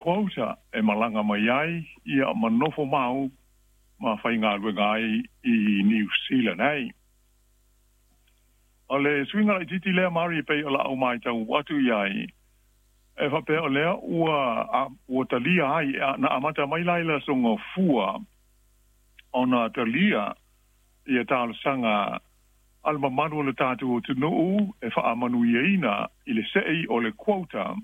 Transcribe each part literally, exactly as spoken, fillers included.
Quota e malaga mai ai ia ma nofo mau ma faigaluega ai i Niu Sila nei. O le suiga laitiiti lea Mari e pei o la'u matau atu i ai, e faapea o lea ua ua talia ai na amata mai la i le aso Gafua ona talia ia talosaga a le mamalu o le tatou atunuu e faamanuiaina i le se'i o le quota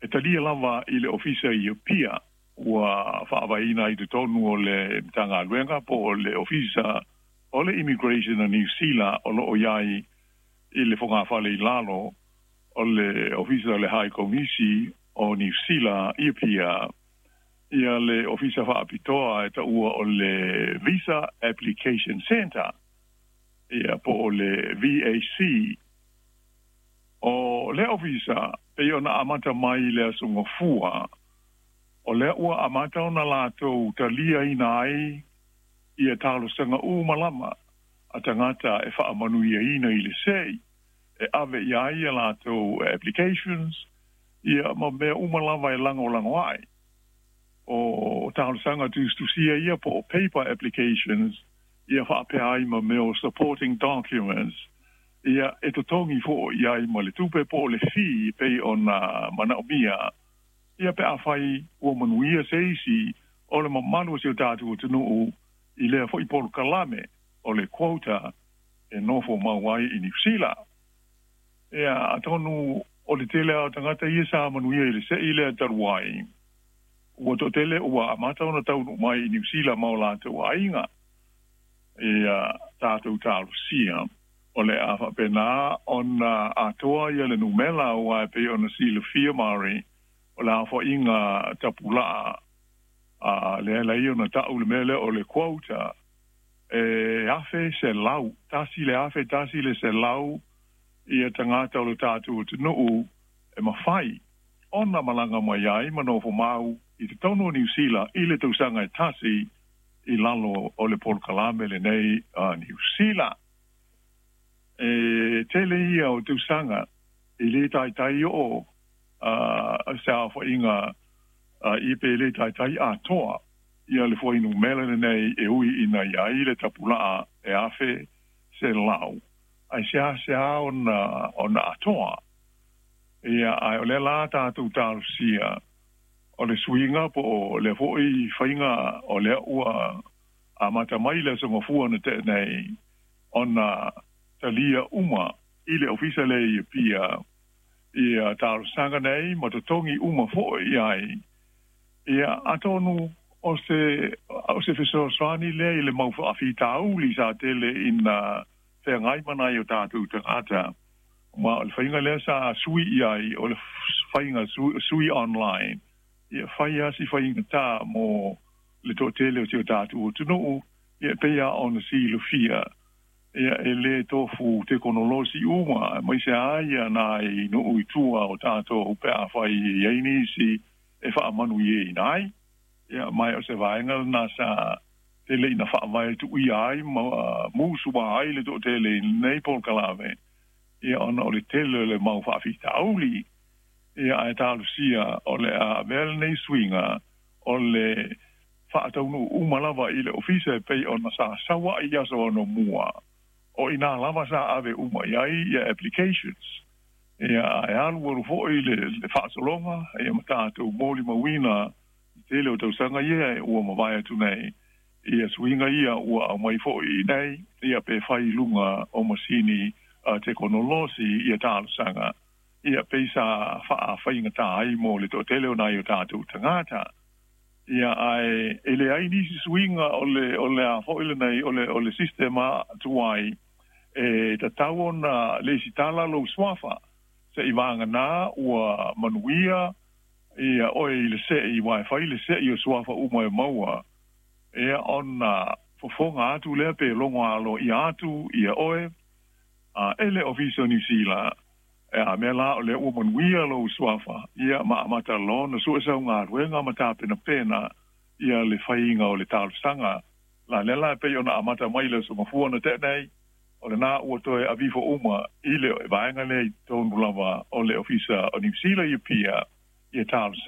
e talia lava i le ofisa i Apia ua faavaeina i totonu o le Matagaluega po o le Ofisa o le Immigration a Niu Sila o lo o i ai i le fogafale i lalo o le Ofisa o le High Komisi o Niu Sila i Apia ia le ofisa faapitoa e taua o le Visa Application Centre ia po o le V A C. O le ofisa pei ona amata mai i le aso Gafua, o lea ua amata ona latou taliaina ai ia talosaga uma lava a tagata e faamanuiaina i le se'i e ave i ai ia latou applications ia ma mea uma lava e lagolago ai. O talosaga tusitusia ia po o paper applications ia faapea ai ma mea o supporting documents ia e totogi fo'i ai ma le tupe po o le fee pei ona manaomia ia pe afai ua manuia se isi o le mamalu o si o tatou atunuu i lea fo'i polokalame o le quota e nofo mau ai i Niu Sila. Ia atonu o le tele a o tagata ia sa manuia i le se'i lea talu ai ua to'atele ua amata ona taunuu mai i Niu Sila ma o latou aiga ia tatou talosia o le a faapena ona atoa ia le numera aua e pei ona silafia Mari o le aofa'iga tapula'a a lea lai ona ta'u le mea lea o le quota e afe selau tasi le afe tasi le selau ia tagata o le tatou atunuu e mafai ona malaga mai ai ma nofo mau i totonu o Niu Sila i le tausaga e tasi i lalo o le polokalame lenei a Niu Sila. E tele ia o tausaga i lē taitai o'o se aofa'iga i pe lē taitai atoa ia le fuainumera lenei e ui ina iai le tapula'a e afe selau ae seaseā ona ona atoa ia ae o lea la tatou talosia o le suiga po o lea fo'i faiga o lea ua amata mai le aso Gafua na te'e nei ona talia uma i le ofisa lea i Apia ia talosaga nei ma totogi uma fo'i ai ia atonu o se o se fesoasoani lea i le mau fa'afitauli sa tele ina feagai ma nai o tatou tagata ma o le faiga lea sa sui i ai o le faiga sui online ia fai a si faigatā mo le to'atele o si o tatou atunuu ia pei a ona silafia ia e lē tofu tekonolosi uma aemaise a ia nai nuu i tua o tatou pe afai i ai nisi e faamanuiaina ai ia mae o se vaega lena sa tele ina faavae tu'uia ai ma musuā ai le to'atele i lenei polokalame ia ona o le tele o le mau fa'afitauli ia ae talosia o le a avea lenei suiga o le fa'ataunuu uma lava i le ofisa e pei ona sa saua'i i aso anamua o inā lava sa ave uma i ai ia applications ia ae alu alu fo'i le le fa'asologa ia ma tatou molimauina i tele o tausaga ia ua mavae atu nei ia suiga ia ua aumai fo'i nei ia pe fai i luga o masini tekonolosi ia talosaga ia pei sa fa'afaigatā ai mo le to'atele o nai o tatou tagata ia ae e leai nisi suiga o le o le a fo'i lenei o le o le sistema tuai e tatau ona lesitala lou suafa se'i vaganā ua manuia ia oe i le se'i uae fai le se'i o suafa uma e maua ia ona fofoga atu lea pe logo aloaʻia atu ia oe a e le ofisa o Niu Sila e a mea la o lea ua manuia lou suafa ia ma amata loa ona su'e sau galuega ma tapenapena ia le faiga o le talosaga la lea la e pei ona amata mai le aso Gafua na te'e nei o lenā ua toe aveifo uma i le vaega lea i totonu lava o le ofisa o Niu Sila i Apia Ia talosaga.